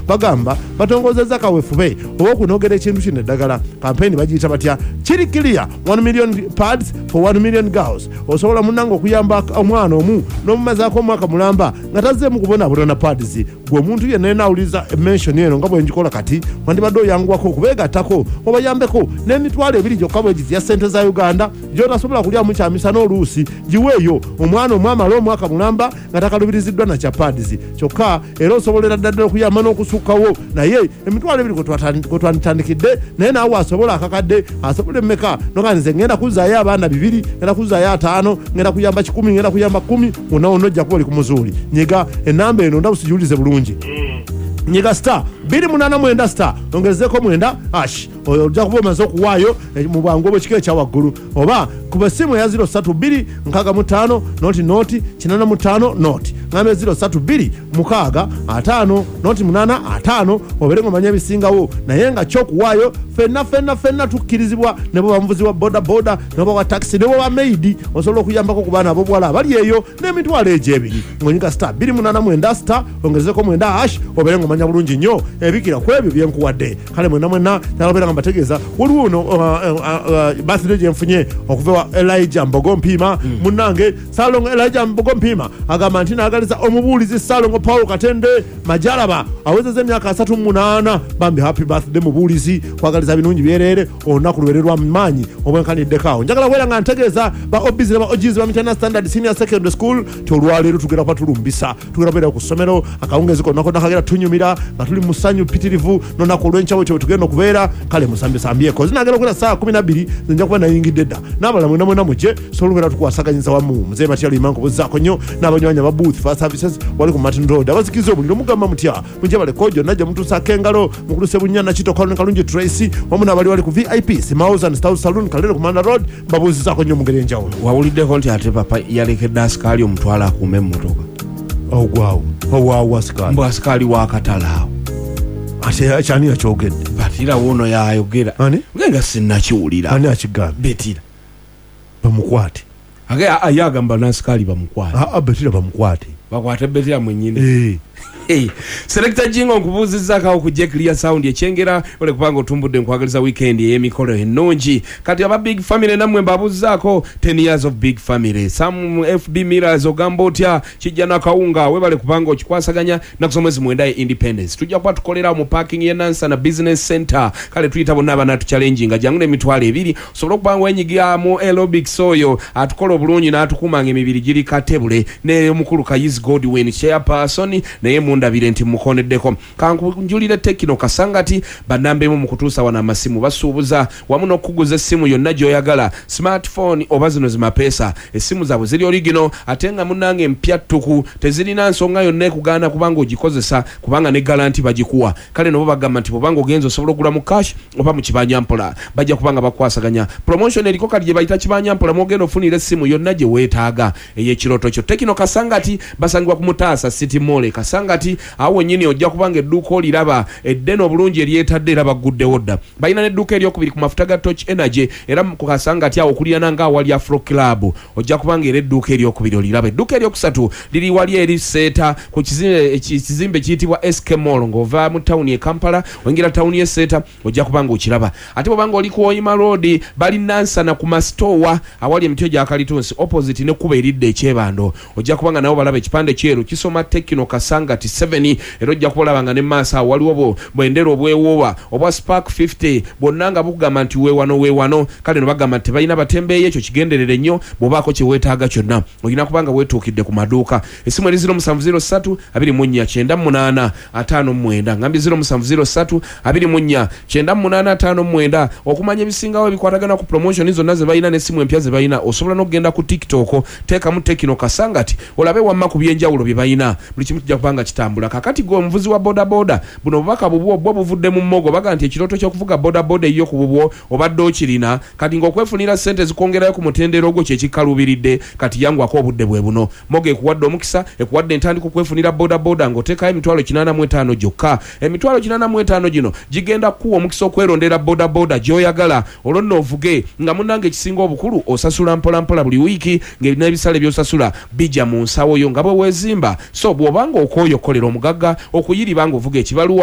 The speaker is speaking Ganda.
Bagamba batongozezza kawefube ow'okunogera ekintu kino eddagala. Kampeyini bagiyita batya? Kiri clear, 1 million pads for 1 million girls. Osobola munnange okuyamba omwana omu n'omumazaako omwaka mulamba nga tazzeemu kubonaabona na pads. Gwe omuntu yenna yenna awuliriza mention eno nga bwe ngikola kati, wandibadde oyanguwako okubeegattako obayambeko n'emitwalo ebiri gyokka bwegiti ya ssente za Uganda gy'otasobola kulyamu kyamisana oluusi. Giweeyo omwana omu amale omwaka mulamba nga takalubiriziddwa na kya pads. Kyokka era osobolera ddala okuyamba n'okusukkawo, naye emitwalo ebiri kwe twanditandikidde. Naye naawe asobola akakadde, asobola emmeka, noga nze ngenda kuzzaayo abaana bibiri, ngenda kuzzaayo ataano, ngenda kuyamba 100, ngenda kuyamba 10, wonna wonna ojja kuba oli ku muzuuli. Nyiga enamba eno, ndaba sigiwulize bulungi. Nyiga star 289 star ongezeeko 9 hash, oyo ojja kuba omaze okuwaayo mu bwangu obwekika ekya waggulu. Oba kuba essimu eya 032 65 0 0 85 0, ngambe 032 6 5 0 8 5, obeere ng'omanya ebisingawo. Naye nga kyokuwaayo fenna fenna fenna tukkirizibwa, ne bw'oba muvuzi wa boda boda, ne bw'oba wa taxi, ne bw'oba maid, osobola okuyambako ku baana ab'obuwala abali eyo n'emitwalo egyo ebiri ng'onyiga star 289 star ongezeko 9 hash, obeere ng'omanya bulungi nnyo ebikira ku ebyo byenkuwadde. Kale mwenna mwenna nalabeera nga mbategeeza waliwo ono birthday gyenfunye okuva wa Elijah Mbogo Mpiima. Munnange Ssalongo Elijah Mbogo Mpiima agamba nti naagaliza omubuulizi Ssalongo Paul Katende Majalaba awezezza emyaka 38. Bambi, happy birthday mubuulizi, kwagaliza birungi byereere, olunaku lubeere lwa maanyi obwenkaniddeko. Awo njagala kubeera nga ntegeeza ba OBs ne ba OGs ba Mityana Standard Senior Secondary School ti olwaleero tugenda kuba tulumbisa, tugenda kubeera ku ssomero akawungeezi konna konna, kagenda tunyumira nga tuli mu ssanyu ppitirivu n'olunaku olw'enkya bwetyo bwe tugenda okubeera. Kale musambesambyeko, zinagenda okubeera ssaawa 12, nze nja kuba nayingidde dda. N'abalala mwena mwena mujje sobola okubeera tukwasaganyiza wamu. Muzeeyi Matya Luyima nkubuzaako nnyo n'abanywanyi aba Booth Fire Services wali ku Martin Road abazikiza omuliro, mugamba mutya? Mujje baleko gyonna gye mutuusaako engalo. Mukulu Sebunya Nakito Kaloni Kalungi Tracy wamu n'abali wali ku VIP Smiles and Stout Saloon Kalere ku Manda Road, mbabuuzizaako nnyo mu ngeri enjawulo. Wawuliddeko nti ate papa yalekedde asikaali omutwalo akuuma emmotoka? Ogwawo owaawo asikaali? Mbu asikaali w'akatale awo. Ate kyani yakyogedde? Batira wuuno yayogera. Ani? Nge nga sinnakiwulira. Ani akigambye? Betira. Bamukwate. Age ye agamba n'asikaali bamukwate. Aa, Betira bamukwate. Bakwate Betira mwennyini. Eh. Hey, Selector Jingo, nkubuuzizzaako awo ku Clear Sound ekyengera ole kubanga otumbudde. Nkwagaliza weekend ey'emikolo ennungi. Kati aba Big Family nammwe mbabuuzzaako, 10 years of Big Family. Sam FB Mirrors, ogamba otya? Kijja nakawunga, webale kubanga okikwasaganya. Naku z'omwezi 9 ye Independence, tujja kuba tukolera mu parking ye Nansana Business Center. Kale tuyita bonna abanatuchallenginga, jangu n'emitwalo ebiri osobole okuba nga wenyigira mu aerobics. Oyo atukola obulungi n'atukuuma nga emibiri giri katebule n'omukulu Kayizi Godwin, chairperson, naye mundabire nti mukoneddeko. Kankunjulire Tecno Kasangati, bannambemu mu kutuusa wano amasimu. Basuubuza wamu n'okukuguza essimu yonna gy'oyagala, smartphone oba zino zimapeesa. Essimu zaabwe ziri original ate nga munnange mpya ttuku, tezirina nsonga yonna ekugaana kubanga ogikozesa, kubanga ne guarantee bagikuwa. Kale nobo bagamba nti bwobanga ogenza osobola okugula mu cash oba mu kibanja mpola, bajja kubanga bakwasaganya. Promotion eriko kati gye bayita kibanja mpola, mwogenda ofunira essimu yonna gye weetaaga ey'ekirooto kyo. Tecno Kasangati basangibwa ku Mutaasa City Mall e Kasangati. Awo wennyini ojja kubanga edduuka oliraba eddene obulungi eryetadde, era bagguddewo dda. Balina n'edduuka eryokubiri ku mafuta ga Torch Energy, era ku Kasangati awo okulirana nga awali Afro Club, ojja kubanga era edduuka eryokubiri oliraba. Edduuka eryokusatu liri wali eri Seeta ku kizimbe kiyitibwa SK Mall. Ng'ova mu tawuni e Kampala oyingira tawuni y'e Seeta, ojja kubanga okiraba. Ate bwobanga oli ku Oyima Road, bali Nansana ku masitoowa awali emiti egya kalitunsi, opposite nekkuba eridda ekyebando, ojja kubanga nabo balaba ekipande kyeru kisoma Tecno Kasangati 7. Era ojja kuba olaba nga ne maaso awo waliwo bwendera obwewoowa obwa Spark 50 bwonna nga bukugamba nti weewano weewano. Kale no bagamba nti tebalina batembeeyi, ekyo kigenderere nnyo. Bw'obaako kye weetaaga kyonna, olina kubanga weetuukidde ku maduuka. Essimu eri 0703 24 98 59, ngambye 0703 24 98 59. Okumanya ebisingawo ebikwatagana ku promotion zonna ze balina n'essimu empya ze balina, osobola n'okugenda ku TikTok, teekamu Tecno Kasangati olabe wamma ku byenjawulo bye balina. Buli kimu kijja kuba nga kitambula. Kakati gwe omuvuzi wa bodaboda, buno obubaka bubwo bwo buvudde mu mmogo. Baga nti ekirooto ky'okuvuga bodaboda eyiyo ku bubwo obadde okirina, kati ng'okwefunira ssente zikwongerayo ku mutendera ogwo kyekikkaluubiridde. Kati yangwako, obudde bwe buno. Mogo ekuwadde omukisa, ekuwadde entandika okwefunira bodaboda ng'oteekayo emitwalo 85 gyokka. Emitwalo 85 gino gigenda kukuwa omukisa okwerondera bodaboda gy'oyagala, olwo nno ovuge nga munnange. Ekisinga obukulu, osasula mpolampola buli wiiki, n'ebisale by'osasula bijja mu nsawo yo nga bwe weezimba. So bw'obanga okooye okukolera omugagga okuyiriba ng'ovuga ekibaluwa.